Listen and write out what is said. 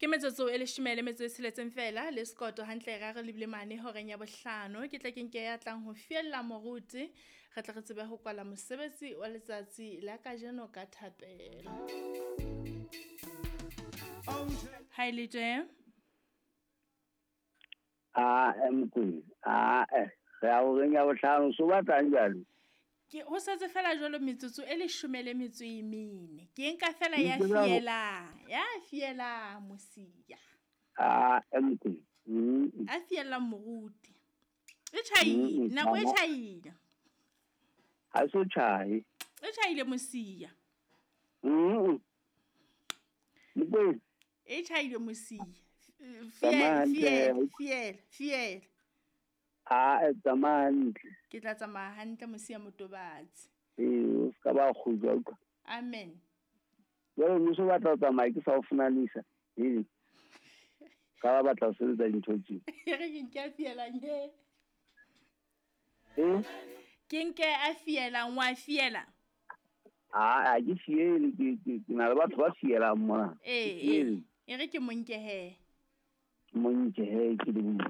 Ke metsotso e leshome le metso e tsheletseng fela le sekoto hantle ra re lebile mane horeng ya bohlano. Ke tle ke nke ya tlang ho fiella moruti, re tle re tsebe ho kwala mosebetsi wa letsatsi la kajeno ka thapelo. Ha e le tje? Ae Mokwena, ae re ya horeng ya bohlano so batlang jwale? Ke ho setse fela jwalo metsotso e leshome le metso e mene. Ke nka fela ya fielang, ya fielang mosia. Ae Mokwena. A fielang moruti. E tjhaile, nako e tjhaile. Ha so tjhae. E tjhaile mosia. Mokwena. E tjhaile mosia. Fiela, fiela, fiela, fiela. Ae tsamaya hantle. Ke tla tsamaya hantle mosia motobatsi. Ee, o ska ba kgutla utlwa. Amen. Jwale mmuso o batla ho tsamaya ke sa o fumanisa. Ee. Ka ba batla ho sebetsa dintho tse. E re ke nke a fielang he. Eh? Ke nke a fielang, wa fiela? Ah, ha ke fiele, ke na le batho ba fielang mona. Ee, e re ke mo nke he. Mo nke he, ke le